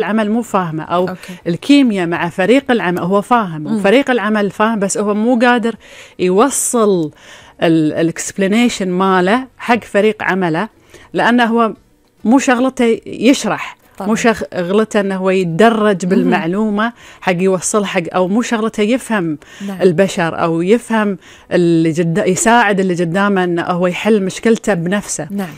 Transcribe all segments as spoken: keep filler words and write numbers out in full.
العمل مو فاهمه، أو أوكي. الكيمياء مع فريق العمل هو فاهم مم. وفريق العمل فاهم، بس هو مو قادر يوصل الاكسبلينيشن ماله حق فريق عمله، لأنه هو مو شغلته يشرح، طبعا. مو شغلته أنه هو يتدرج بالمعلومة حق يوصل حق، أو مو شغلته يفهم نعم. البشر أو يفهم اللي جد يساعد اللي قدامه أنه هو يحل مشكلته بنفسه. نعم.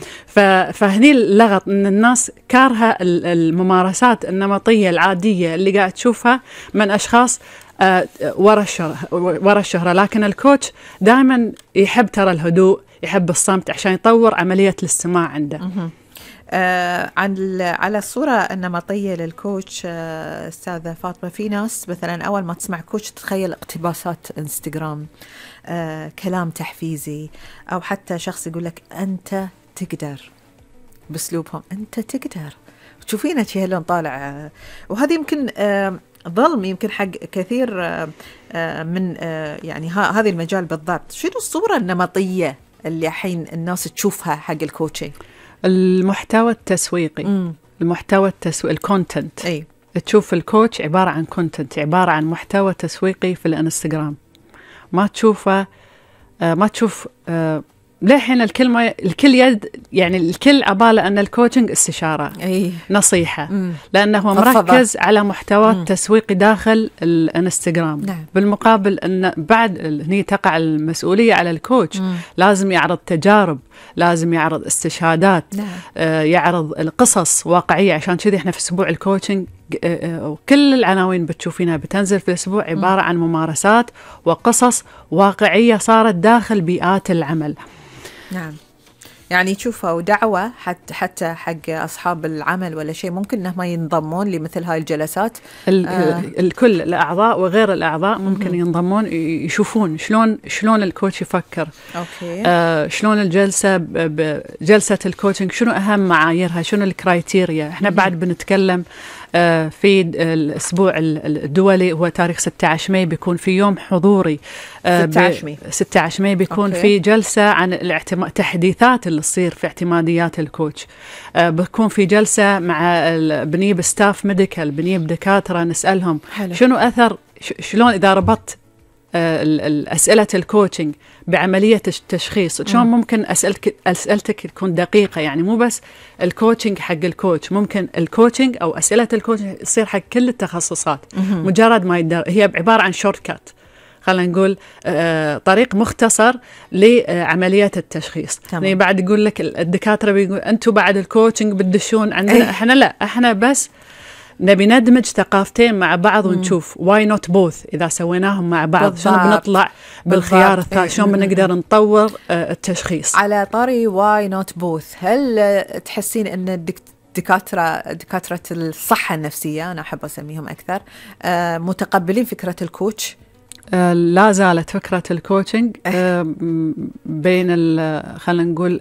فهني اللغط أن الناس كارهة الممارسات النمطية العادية اللي قاعد تشوفها من أشخاص آه ورا الشهرة ورا الشهرة لكن الكوتش دائما يحب ترى الهدوء، يحب الصمت عشان يطور عملية الاستماع عنده. آه عن على الصورة النمطية للكوتش آه أستاذة فاطمة، في ناس مثلا أول ما تسمع كوتش تتخيل اقتباسات انستغرام، آه كلام تحفيزي، أو حتى شخص يقول لك أنت تقدر بأسلوبهم، أنت تقدر، تشوفينه شيء هلون طالع آه وهذه يمكن آه ظلم يمكن حق كثير آه آه من آه يعني هذه المجال بالضبط. شنو الصورة النمطية اللي الحين الناس تشوفها حق الكوتشنج؟ المحتوى التسويقي. مم. المحتوى التسويقي الكونتنت. أي. تشوف الكوتش عبارة عن كونتنت، عبارة عن محتوى تسويقي في الانستغرام، ما تشوفه آه ما تشوف آه للحين الكلمة الكل يد يعني الكل عبالة أن الكوتشنج استشارة. أي. نصيحة. مم. لأنه هو مركز على محتوى تسويقي داخل الانستغرام. نعم. بالمقابل أن بعد هني تقع المسؤولية على الكوتش. مم. لازم يعرض تجارب، لازم يعرض استشهادات. نعم. آه يعرض القصص واقعية. عشان كذي احنا في أسبوع الكوتشنج كل العناوين بتشوفينها بتنزل في الأسبوع عبارة عن ممارسات وقصص واقعية صارت داخل بيئات العمل. نعم. يعني تشوفوا دعوة حتى حتى حق أصحاب العمل ولا شيء ممكن إنهم ينضمون لمثل هاي الجلسات. آه. الكل الأعضاء وغير الأعضاء ممكن م- ينضمون يشوفون شلون شلون الكوتش يفكر. أوكي. آه شلون الجلسة بجلسة الكوتشنج شنو أهم معاييرها، شنو الكرايتيريا. إحنا م- بعد بنتكلم آه في الأسبوع الدولي هو تاريخ ستة عشر ماي بيكون في يوم حضوري. آه ستة عشر ماي ستة عشر ماي بيكون أوكي. في جلسة عن الاعتماد التحديثات اللي تصير في اعتماديات الكوتش. آه بيكون في جلسة مع بنيب ستاف ميديكال، بنيب دكاترة نسألهم حلو. شنو أثر شلون إذا ربطت أسئلة الكوتشنج بعملية التشخيص شلون ممكن أسألك أسئلتك تكون دقيقة. يعني مو بس الكوتشنج حق الكوتش، ممكن الكوتشنج أو أسئلة الكوتشنج تصير حق كل التخصصات. مم. مجرد ما يدر هي عبارة عن شورت كات، خلينا نقول آه طريق مختصر لعملية التشخيص. يعني بعد يقول لك الدكاترة بيقول أنتوا بعد الكوتشنج بتدشون عندنا. إحنا لا، إحنا بس نبي ندمج ثقافتين مع بعض ونشوف واي نوت بوث إذا سويناهم مع بعض شلون بنطلع بالخيار الثالث، شلون بنقدر نطور التشخيص. على طاري واي نوت بوث، هل تحسين أن الدكاترة دكاترة الصحة النفسية أنا أحب أسميهم أكثر متقبلين فكرة الكوتش؟ آه لا زالت فكرة الكوتشنج آه بين خلينا نقول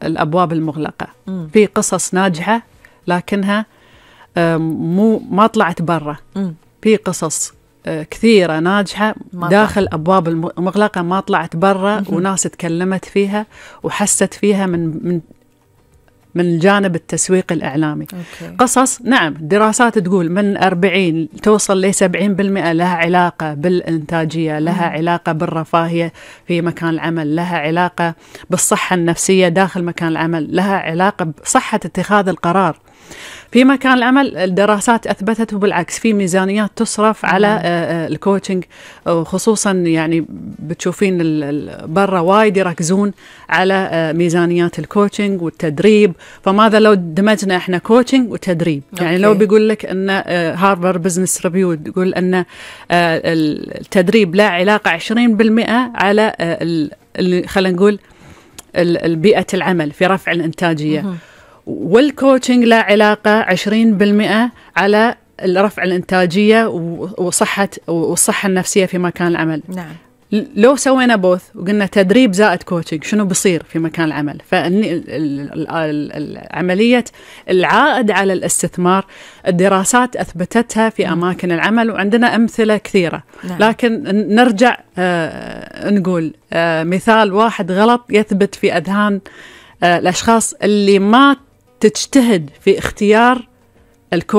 الأبواب المغلقة. م. في قصص ناجحة لكنها مو ما طلعت برا. في قصص كثيرة ناجحة داخل أبواب المغلقة ما طلعت برا، وناس تكلمت فيها وحست فيها من من من الجانب التسويق الإعلامي. أوكي. قصص نعم دراسات تقول من أربعين توصل ل سبعين بالمئة لها علاقة بالإنتاجية، لها مم. علاقة بالرفاهية في مكان العمل، لها علاقة بالصحة النفسية داخل مكان العمل، لها علاقة بصحة اتخاذ القرار في مكان العمل. الدراسات أثبتت بالعكس في ميزانيات تصرف مم. على الكوتشنج، وخصوصا يعني بتشوفين برا وايد يركزون على ميزانيات الكوتشنج والتدريب. فماذا لو دمجنا احنا كوتشنج وتدريب؟ أوكي. يعني لو بيقول لك ان هارفارد بزنس ريفيو تقول ان التدريب لا علاقة عشرين بالمئة على اللي خلينا نقول البيئة العمل في رفع الإنتاجية، مم. والكوتشنج لا علاقة عشرين بالمئة على رفع الإنتاجية وصحة والصحة النفسية في مكان العمل. نعم. لو سوينا بوث وقلنا تدريب زائد كوتشنج شنو بيصير في مكان العمل؟ فعملية العائد على الاستثمار الدراسات أثبتتها في أماكن العمل، وعندنا أمثلة كثيرة. نعم. لكن نرجع آه نقول آه مثال واحد غلط يثبت في أذهان آه الأشخاص اللي ما تجتهد في اختيار الكوتش